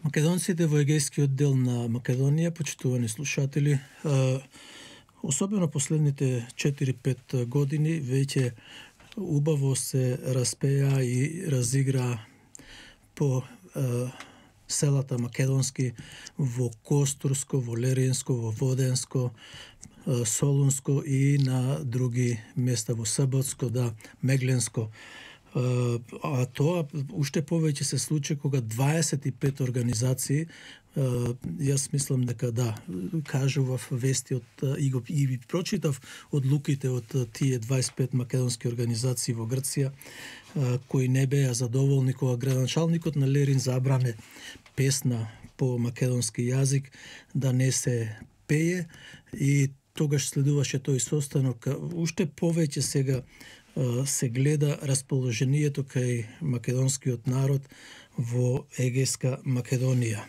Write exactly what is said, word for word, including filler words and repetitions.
Македонците во егејскиот дел на Македонија, почитувани слушатели, особено последните четири-пет години, веќе убаво се распеа и разигра по селата македонски во Костурско, во Леринско, во Воденско, Солунско и на други места во Саботско, да, Мегленско. А тоа уште повеќе се случи кога дваесет и пет организации, јас мислам дека да, кажував вести од и го и прочитав одлуките од тие дваесет и пет македонски организации во Грција, кои не беа задоволни кога градоначалникот на Лерин забране песна по македонски јазик да не се пее, и тогаш следуваше тој состанок. Уште повеќе сега се гледа расположението кај македонскиот народ во егејска Македонија.